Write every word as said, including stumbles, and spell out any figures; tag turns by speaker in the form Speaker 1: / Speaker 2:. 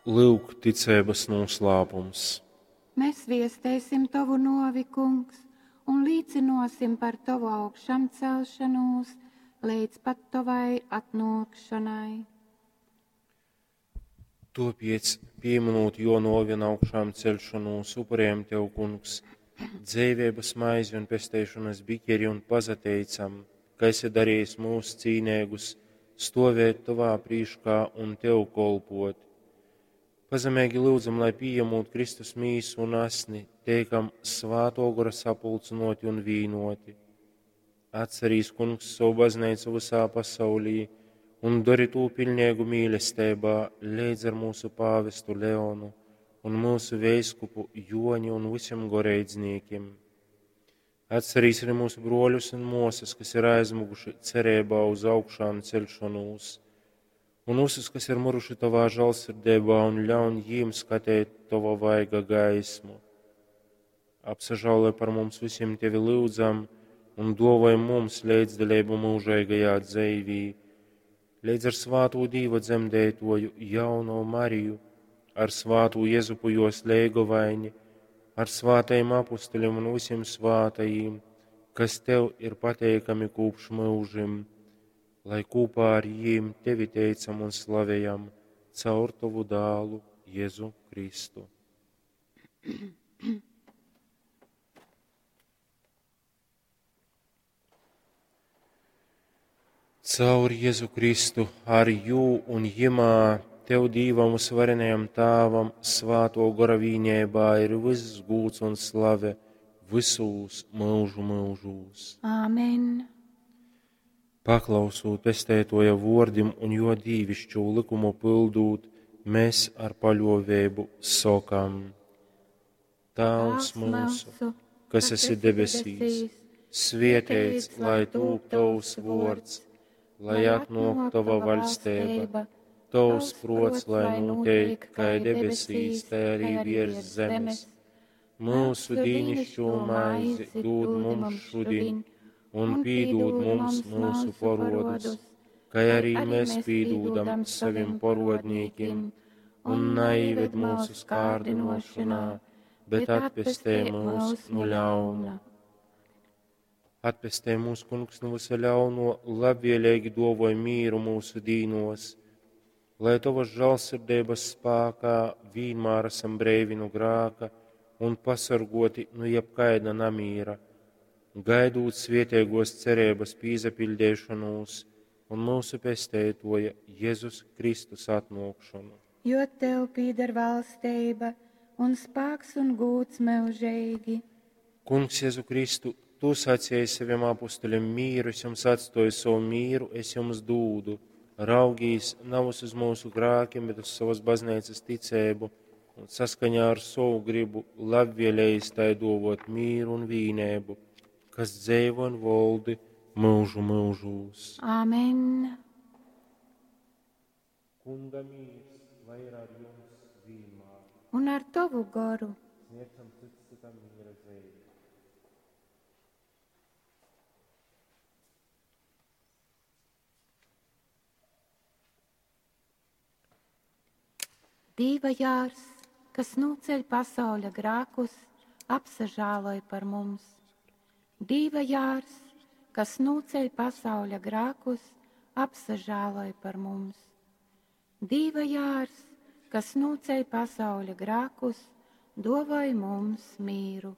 Speaker 1: Lyuk, ticeibas nūslāpums.
Speaker 2: Mēs viesteisim tovu nuovi, Kungs, un līcynuosim par tovu augšamcelšanūs leidz pat tovai atnuokšonai.
Speaker 1: Tuopiec, pīmynūt juo nuovi un augšāmceļšonūs, upurējam tev, Kungs, dzeiveibas maizi un pesteišonas biķeri un pasateicam, ka esi darījis mūs cīneigus stovēt tovā prīškā un tev kolpot. Pazemeigi lyudzam, lai pījemūt Kristus mīsu un asni, teikam Svātō Gora sapulcynoti un vīnoti. Atcerīs, Kungs, savu bazneicu visā pasaulī un dori tū piļneigu mīlesteibā leidz ar mūsu pāvestu Leonu un mūsu veiskupu Joni un visiem goreidznīkim. Atcerīs arī mūsu broļus un mosas, kas ir aizmuguši cerībā uz augšām celšanos, un visus, kas ir muruši tavā žēlsirdībā, un ļaun jīm skatēt tava vaiga gaismu. Apsažāloj par mums visiem tevi lūdzam un dovoj mums līdzdalību mūžīgajā dzīvī, līdz ar svāto Dīva dzemdētoju jauno Mariju, ar svāto Jezupu jos leigovaini, ar svātajiem apustuļiem un visiem svātajiem, kas tev ir pateikami kopš mūžim, lai kopā ar jīm tevi teicam un slavējam caur tavu dālu Jēzu Kristu. Caur Jēzu Kristu, ar jū un jimā, tev Dīvam uzvarenajam Tāvam, svāto gora vīnībā ir viss gūts un slave visūs mūžu mūžūs.
Speaker 2: Āmen.
Speaker 1: Paklausūt pestētoja vordim un jo dīvišķo likumu pildūt, mēs ar paļovēbu sokam. Tāvs mūsu, kas esi debesīs, svietēts, lai tūp tavs vords, lai atnok tava vaļstēba, tavs prots, lai notiek, kā debesīs, tā arī virs zemes. Mūsu dīnišķo maizi dod mums šodien, un pīdod mums mūsu porodus, kā arī mēs pīdūdam saviem porodnīkiem, un naieved mūsu skārdinošanā, bet atpestē mūs no ļauna. Atpestē mūs, Kungs, no visa ļauno, labvēlīgi dovoj mīru mūsu dīnos, lai tavas žēlsirdības spākā vienmēr esam breivi no grāka un pasargoti no jebkaida namīra, gaidūt svietiegos cerības pīzapildēšanos un mūsu pestētoja Jēzus Kristus atnākšanu.
Speaker 2: Jo tev pīder valstība un spāks un gūts mūžīgi.
Speaker 1: Kungs Jēzu Kristu, tu sacīji saviem apustuļiem mīru, es jums atstoju savu mīru, es jums dūdu. Raugīs nav uz mūsu grākiem, bet uz savas baznīcas ticēbu un saskaņā ar savu gribu labvēlējis tai dovot mīru un vīnēbu, kas dzēvo un voldi mūžu mūžūs.
Speaker 2: Āmen.
Speaker 1: Kunga mīrs, lai ir ar jums vienmēr.
Speaker 2: Un ar tavu goru.
Speaker 1: Sniedzam cits citam miera dzīvi.
Speaker 2: Dīva jārs, kas nūceļ pasauļa grākus, apsažāloj par mums. Dīva jārs, kas nūceļ pasauļa grākus, apsažāloj par mums. Dīva jārs, kas nūceļ pasauļa grākus, dovoj mums mīru.